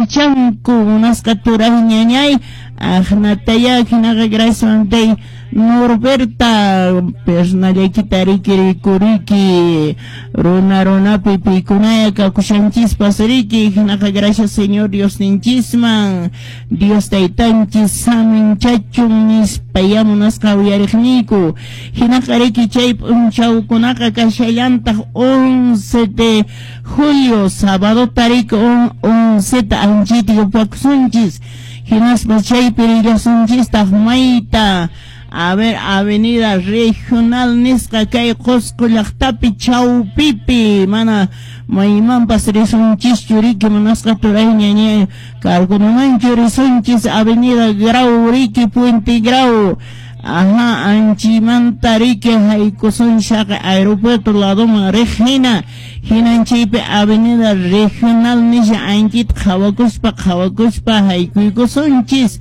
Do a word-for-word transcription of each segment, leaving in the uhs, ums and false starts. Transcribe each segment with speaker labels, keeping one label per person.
Speaker 1: saminchanku munasqa turay ñañay aqnataya hinaqa gracias tay Norberta personallaykita riki rikuriki runa runapi pikunaya kakushanchispas riki hinaqa gracias Señor Dios ninchisman Dios taytanchis saminchachun nispaya munasqa uyariqniyku hinaqa riki chay p'unchawkunaqa kashallantaq once de julio sábado tariki onceta anchita yupakusunchis hinaspa chaypi rillasunchistaq mayta a ver avenida regional nisqa kay Qusqu llaqtapi chawpipi mana maymanpas risunchischu riki munasqa turay ñañay karkunamanchu risunchis avenida Grau riki Puente Grau ajá anchimanta riki haykusun shaqa aeropuerto ladoman riq hina hinan chaypi avenida regional nisha anchita qhawakuspa qhawakuspa haykuykusunchis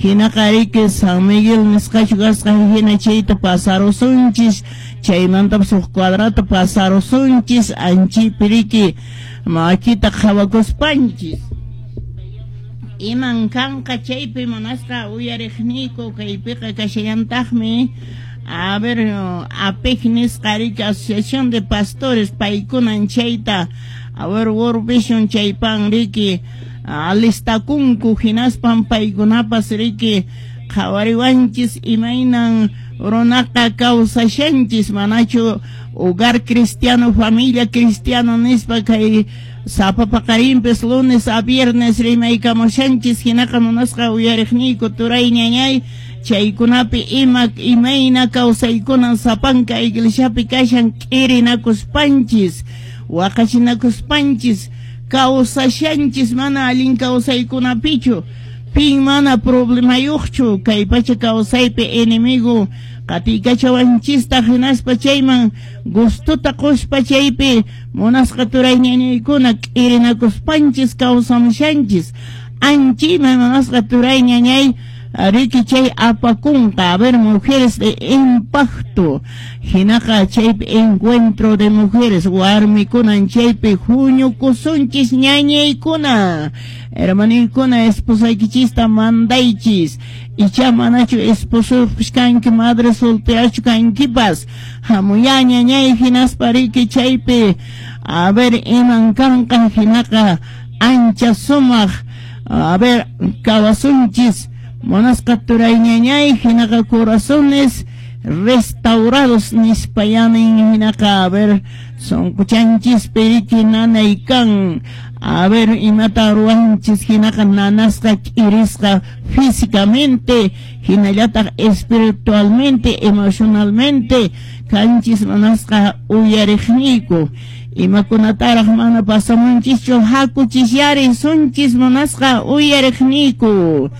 Speaker 1: hinaqa riki San Miguel nisqachu kasqa hina chayta pasarusunchis chaymantapas huk cuadrata pasarusunchis anchaypi riki makita qhawakuspanchis iman kanqa chaypi munasqa uyariqniyku kaypiqa kashallantaqmi a ver APEC nisqa riki Asociación de Pastores paykunan chayta a ver World Vision chaypan riki alistakunku hinaspan paykunapas riki qhawariwanchis imaynan runaqa kawsashanchis manachu hogar cristiano familia cristiano nispa kay sapa paqarinpis lunes a viernes rimaykamushanchis hinaqa munasqa uyariqniyku turay ñañay chaykunapi ima imayna kawsaykunan sapanka iglesiapi kashan k'irinakuspanchis waqachinakuspanchis kawsashanchis mana allin kawsaykunapichu pin mana problemayuqchu kay pacha kawsaypi enemigo qatiykachawanchista hinaspa chayman gustuta quspa chaypi munasqa turay ñañaykuna k'irinakuspanchis kawsamushanchis anchayman munasqa turay ñañay riki chay apakunqa a ver mujeres de impacto hinaqa chaypi encuentro de mujeres warmikunan chaypi huñukusunchis ñañaykuna hermaniykuna esposaykichista mandaychis icha manachu esposoyuqpis kanki madre solterachu kankipas hamuya ñañay hinaspa riki chaypi a ver iman kanqa hinaqa ancha sumaq a ver kawasunchis munasqa turay ñañay hinaqa corazones restaurados nispayanin hinaqa a ver sunquchanchispi riki nanay kan a ver imata ruwanchis hinaqa nanasqa k'irisqa físicamente hinallataq espiritualmente emocionalmente kanchis munasqa uyariqniyku imakunataraq mana pasamunchischu hakuchisyari sunchis munasqa uyariqniyku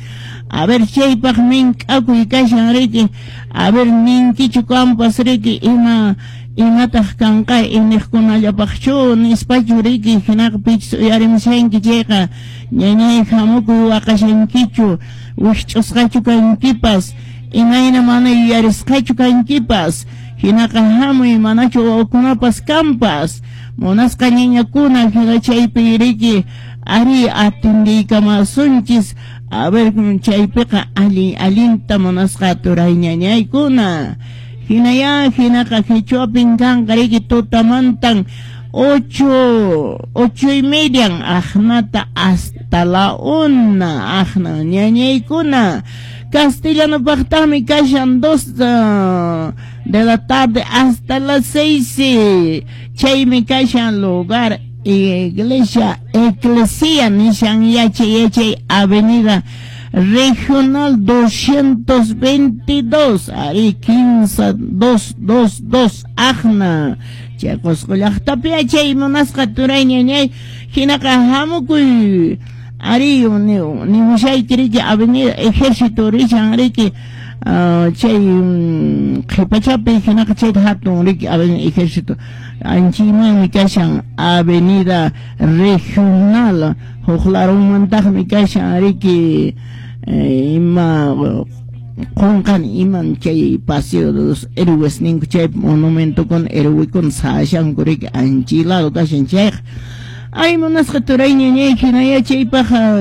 Speaker 1: a ver chaypaq mink'akuy kashan riki a ver ninkichu kampas riki ima imataq kanqa iniqkunallapaqchu nispachu riki hinaqa pichus uyarimushanki chayqa ñañay hamukuy waqashankichu wikch'usqachu kankipas imayna mana yuyarisqachu kankipas hinaqa hamuy manachu wawakunapas kanpas munasqa ñañakuna hina chaypi riki ari atindiykamaasunchis a ver chaypiqa allin allinta munasqa turay ñañaykuna hinaya hinaqa qichwapin kanqa riki tutamantan ocho ocho y median aqnata hasta la una aqna ñañaykuna castellanopaqtaqmi kashan dos uh, de la tarde hasta las seis chaymi kashan lugar iglesia eclesia nishan yachay yachay avenida regional doscientos veintidós ari quince dos dos dos aqna chay Qusqu llaqtapi yachay munasqa turay ñañay hinaqa hamukuy ari nimushayki riki avenida ejército rishan riki chay qhipachapi hinaqa chayta hatun riki avenida ejército anchaymanmi kashan avenida regional huk larunmantaqmi kashan riki ima qunqani iman chay paseo de los héroes ninku chay monumentokuna héroekuna sashanku riki anchay lado kashan chayqa ay munasqa turay ñañay hinaya chaypaq.